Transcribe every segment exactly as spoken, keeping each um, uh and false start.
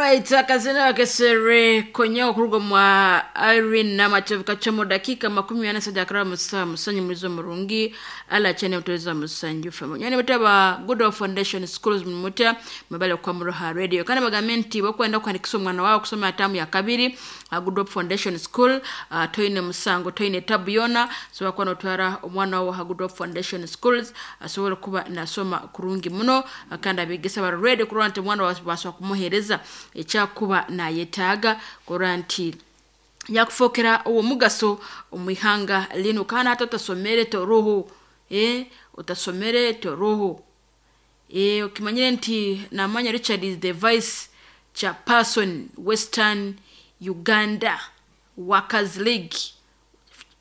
Alright, akazina kesere konyawo kuruga mwa Irene Namatovu kachomo dakika makumi ana sada akara musa musanyu mwizo murungi ala chene mutoweza musanyu famo nyane mutaba Good Hope Foundation Schools mumuta mabale kwa Muroha Radio kana bagamenti bakwenda kuandikisha omwana wawe kusoma atamu ya kabiri uh, Good Hope Foundation School uh, toine musango toine tabu yona so bakwa notwara omwana wawe ha Good Hope Foundation Schools asobole kuba nasoma kurungi muno uh, kandi abegesa ba radio kurora nti omwana wawe baswa kumuhereza ekyakuba nayetaaga kurora nti yakufokera uwo mugaso omwihanga lino kana hata utasomere toruhu eh utasomere toruhu eh ukimanyire nti namanya Richard is the vice chairperson Western Uganda Workers League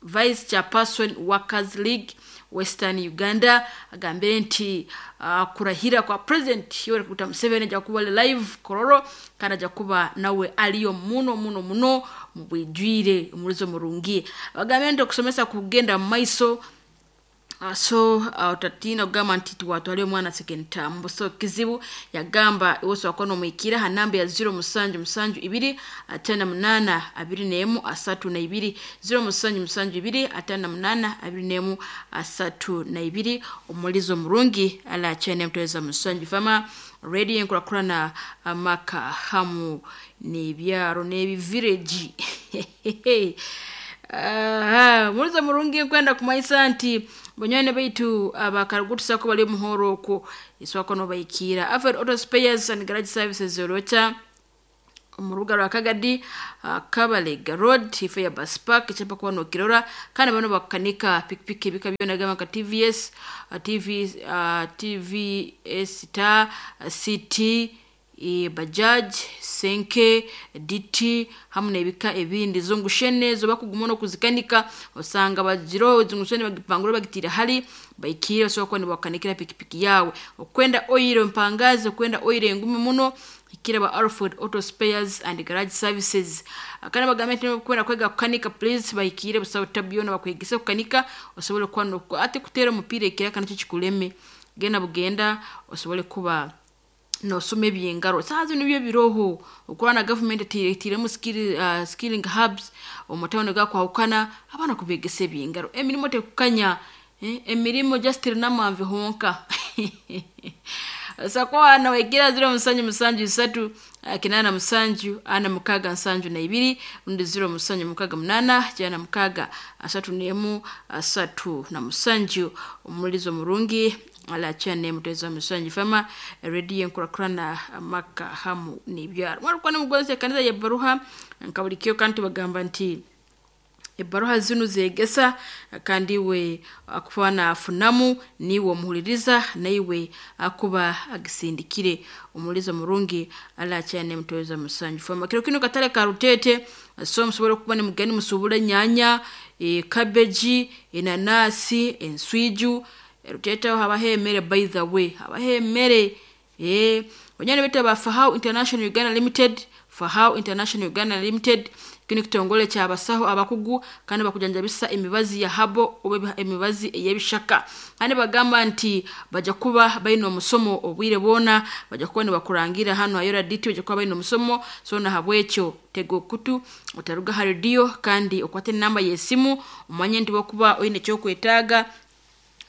vice chairperson Workers League Western Uganda agambire nti uh, kurahira kwa president Yoweri Kaguta Museveni ajja kuba live Kororo kandi ajja kuba nawe aliyo muno muno muno mu bwijwire omulizo murungi bagambire nti okusomesa kugenda mu maiso Uh, so uh, utatina kugamba nti tuwatwale omwana second term so kizibu yagamba iwoso wakono omwikira ha namba ya zero musanju musanju ibiri atana munana abiri nemu asatu na ibiri zero musanju musanju ibiri atana munana abiri nemu asatu na ibiri omulizo murungi ala chene mtoweza musanju fama radio enkurakurana amaka hamu n'ebyaro n'ebivireji Aha, mulizo murungi nkwenda kumaisa nti banywane baitu abakarugutusako bali muhoro okwo iswako nobaikira Alfred Auto Spares and Garage Services Orota mu rubuga rwa Kagadi uh, Kabalega Road ife ya bus park ekyapa kuba nokirora kandi bano bakanika pikipiki ebika byona gamba nka T V S uh, T V uh, T V S ta uh, C T e, Bajaj Senke D T hamwe n'ebika ebindi zungushene zo bakuguma no kuzikanika osanga bagiro zungushene bagipangura bagitira hali baikira basobola kuba nibakanikira pikipiki yawe okwenda oil mpangazi okwenda oil engumi muno ikira ba Alfred Auto Spares and Garage Services akana bagambe nti kwenda kwega kukanika please baikire busawo tabyona bakwegesa kukanika osobole kuba no ate kutera omupira ekira kana kikuleme genda bugenda osobole kuba nosoma ebyengaro saa zino byo biroho okora na government etiremu skill, uh, skilling hubs omutawuni gakwahukana abaana kubegesa ebyengaro emirimo tekukanya eh, emirimo just rinamamve honka sakoa na waigira ziro musanju musanju isatu kinana musanju ana mukaga nsanju na ibiri undi ziro musanju mukaga munana jana mukaga asatu nemu asatu na musanju omulizo murungi ala chane muteza musanju fama redio enkurakurana amaka hamu n'ibyaro mwarukwa n'umugonzi kanisa ya baruha nkabulikyo kandi bagamba nti ebaruha zino zegesa kandi we akuba nafunamu niwe omuhuliriza naiwe akuba agisindikire omulizo murungi ala cyane mutoweza musanju fama kiro kino katale ka Rutete so musobole kuba ni mugani musubule nyanya e, cabbage enanasi enswiju Rutete haba hemere by the way haba hemere eh banyana bete ba Fahau International Uganda Limited Fahau International Uganda Limited kino kitongole kya basaho abakugu kandi bakujanjabisa emibazi ya habo oba emibazi ey'ebishaka kandi bagamba nti bajja kuba balina omusomo obwire bwona bajja kuba nibakurangira hano ayora D T bajja kuba balina omusomo so na habwekyo tega okutu otaruga ha radio kandi okwate enamba y'esimu omanye nti bokuba oyine ekyokwetaaga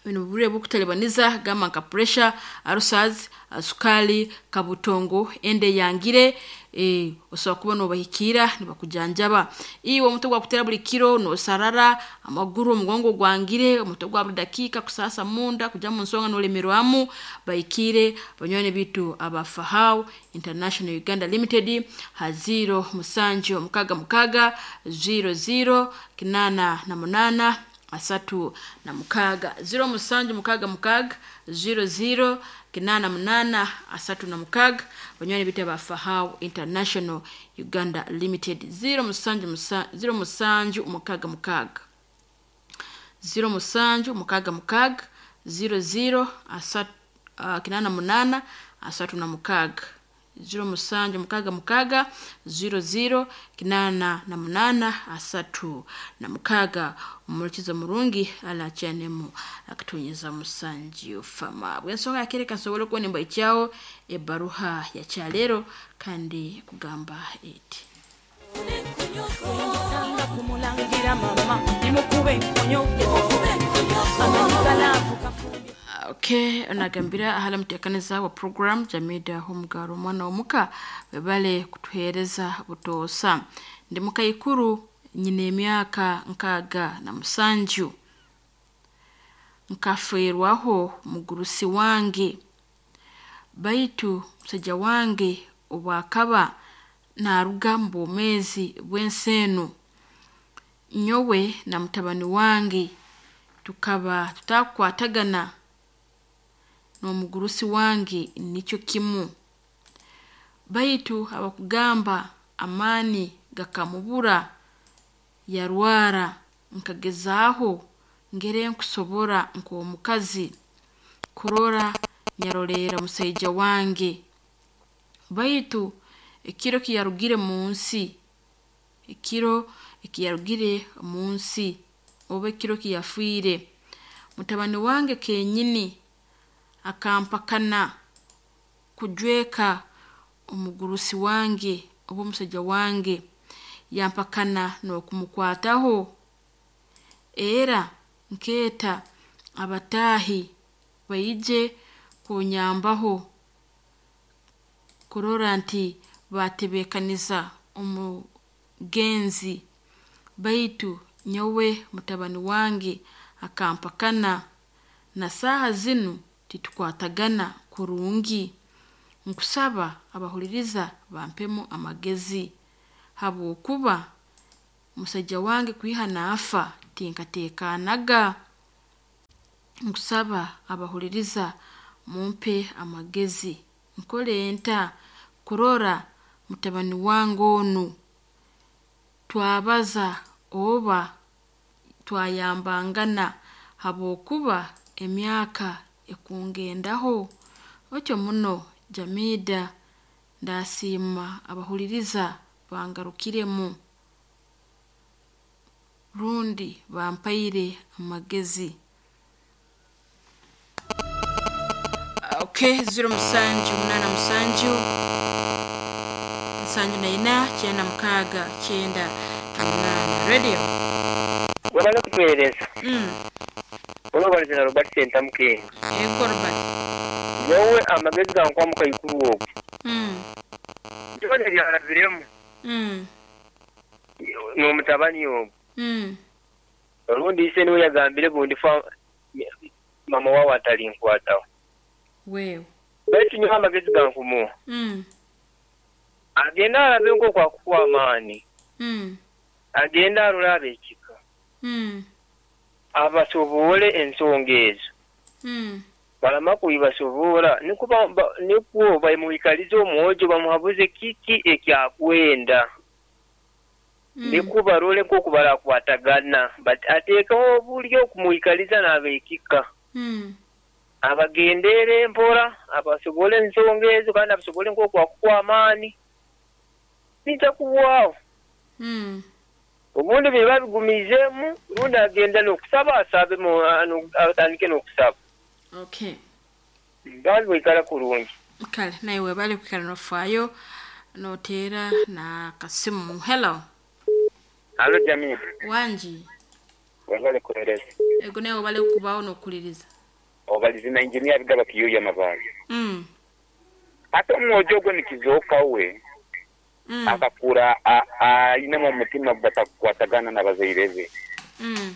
bino bubure bukutalibaniza gamba nka pressure ulcers sukali kabutongo ende yangire eh osobola kuba nobahikira nibakujanjaba iwe omutwe gwakutera buli kiro nosarara amaguru omugongo gwangire omutwe gwa buli dakika kusasa munda kuja mu nsonga nolemerwamu bahikire banywani bitu aba Fahau International Uganda Limited ha zero musanju mukaga mukaga zero zero kinana na munana asatu na mukaga zero musanju mukaga mukaga zero zero kinana munana asatu na mukaga banywani bita ba Fahau International Uganda Limited zero musanju musa, zero musanju mukaga mukaga zero musanju mukaga mukaga zero zero asatu uh, kinana munana asatu na mukaga ziro musanju mukaga mukaga ziro ziro kinana na munana asatu na mukaga. Omulikizo murungi alacyanemu akatunyeza musanju fama bwensonga yakereka nsobole kubona embayi kyawo ebaruha ya kyalero kandi kugamba eti Okay, onagambira ahala muteekaniza wa program Jamida Homugaro omwana omuka webale kutuheereza butoosa. Ndi mukaikuru nyina emyaka nkaaga na musanju, nkafeerwaho mugurusi wange, baitu musaija wange obwakaba naruga mu bwomeezi bw'ensi enu, nyowe na mutabani wange tukaba tutakukwatagana n'omugurusi wange nikyo kimu. Baitu abakugamba amaani gakamubura yarwara, nkagezaaho ngere nkusobora nk'omukazi kurora nyaroleera musaija wange, baitu ekiro kiyarugire mu nsi ekiro ekiyarugire mu nsi oba ekiro kiyafiire, mutabani wange kenyini akampakana kujweka omugurusi wange oba omusaija wange, yampakana n'okumukwataho, era nkeeta abataahi baije kunyambaho kurora nti batebeekaniza omugenzi, baitu nyowe mutabani wange akampakana na saaha zinu titukwatagana kurungi. Nkusaba abahuliriza bampemu amagezi habwokuba musaija wange kwiha naafa tinkateekanaga. Nkusaba abahuliriza mumpe amagezi nkole nta kurora mutabani wange onu twabaza oba twayambangana habwokuba emyaka ekungendaho. Otyo muno Jamida, ndasiima abahuliriza bangarukiremu rundi bampaire amagezi. Okay, ziro musanju munana musanju nsanju na ina kyenda mukaaga kyenda na munana. Radio wabala kutuweereza mm. olwobalizana Robert Sentamu Kenga. Ego Robert, nyowe amagezi gankwa mukaikuru ogwo mm. byona byarabiremu mm. n'omutabani ogwo mm. orundi ise niwe yagambire bundi fa mama wawe atalinkwataho wewe baitu nyowe amagezi gankumuha mm. agenda arabe nk'okwakukuwa amaani mm. agenda arole ab'ekika mm. abasoboole ensonga ezo mm. balama kuibasobola nikwo ba- ba- nikwo bamuikalize omwojo bamuhabuze kiki ekyakwenda mm. nikwo barole nk'oku barakwatagana but ateekaho obulyo okumuikaliza n'ab'ekika mm. abagendere mpora abasobole ensonga ezo kandi abasobole nk'okwakukuwa amaani bijja kuwaawo mm. obundi biba bigumizeemu rundi agenda n'okusaba asabe mu- ano- atandike n'okusaba Okay. kandi bwikala kurungi. Kale naye webale kwikala nofaayo noteera na kasimu. Hello Halo Jamii, wangi webale kuhereza ego naye webale kubawo n'okukuliriza. obalizina injinia bigaba kiyuya mabaali mm. ate omwojo ogwo nikizooka we mm. akakura ayinemu omutima gubatakukwatagana n'abazaire be mm.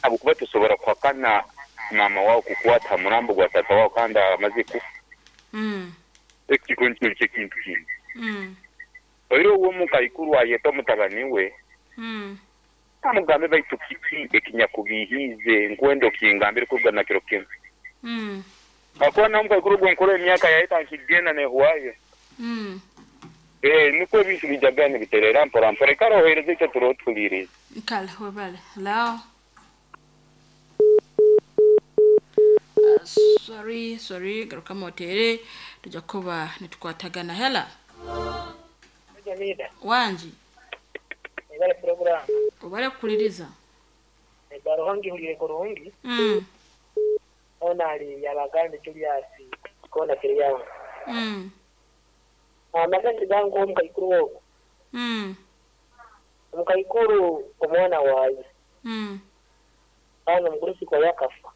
habwokuba tosobora kuhakana mama wawe kukwata ha murambo gwa tata wawe kandi amaze kufa mm. ekiko nikyo nikyo ekintu kindi mm. oire uwe omukaikuru ayeta omutabani we mm. amugambe baitu kiki ekinyakubihiize nkwenda okingambire kuruga kiro kimu mm. akuba nawe omukaikuru ogwo nkora emyaka yahita nkigenda nehuwayo mm. Eh, nikwo ebintu bijaga nibiterera mpora mpora ikara ohereze ekyo turoho tuhuliirize. Kale webale. Hello Uh, sorry sorry garukamu oteere Tujja kuba nitukwatagana. Hela Jamida, wangi ebale program. Obale kukuliriza. Ebaruhangi hulire kurungi. Mm. Ona ali yabagande Julius kona kiriyawo. Mm. Amagezi gangu omukaikuru ogwo. Mm. Omukaikuru omwana waaye. Mm. Ana omugurusi kwa yakafa.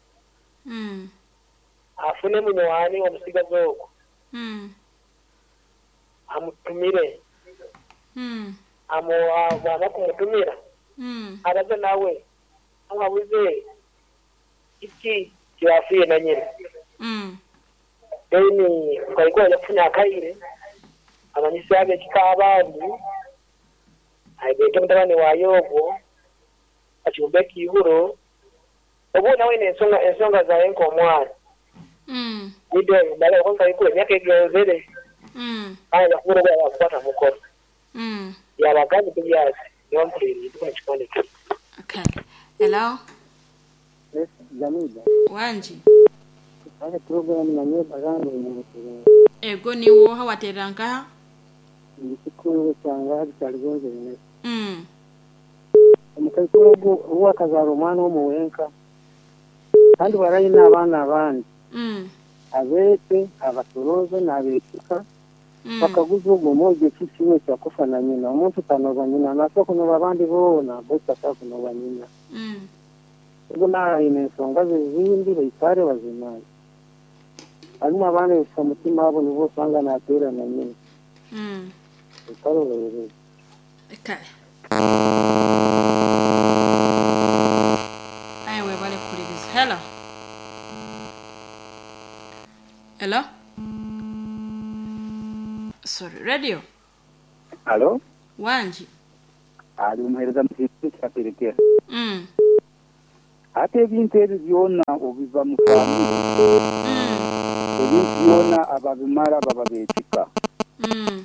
Mm. Afune munywani omusigazi ogwo. Mm. Amutumire. Mm. Amu bwama kumutumira. Mm. Abaze nawe. Amubuze iki kyafiye na nyina. Mm. Then mukaikuru ajja kufuna akaire. Amanyisa ab'ekika abandi. Aigete mutabani wa ogwo. Achumbe ekihuro. Obu nawe ensonga ensonga zawe nk'omwana. Mm. Nido mbale omukaikuru emyaka egenzere. Mm. Aya kubura ogwo yakukwata mukono. Mm. Yabagambye Julius nibamukuliriye ndikuna kikonde kye. Okay. Hello Jamida, wangi kale program nanye baganda omuntu ego niwoha waterera nkaha. ndikikungu kyanga kyaligonze bine. Mm. Omukaikuru ogwo obu akazaara omwana omuwenka kandi barayina abaana abandi Mm. abeete abatoroze n'abeekika Mm. bakaguza ogwo mwojo ki kimwe kyakufa na nyina. Omuntu tanoba nyina nasobola kunoba abandi boona baitu tasobola kunoba nyina. Mm. Ubwo naayina ensonga ze zindi baikare bazimanye. Harimu abaana ebisa mutima abo nibo osanga nateera na nyina. Mm. Baikare bahereze. Kale. Aye webale kukuliriza. Hello. Hello. Sorry, radio. Alo, Wangi. ali omuheereza mukintu kyaterekera. Mm. Ate ebintu ebyo byonna obiva mu famire, Mm. ebintu byonna ababimala baba beekika. Mm.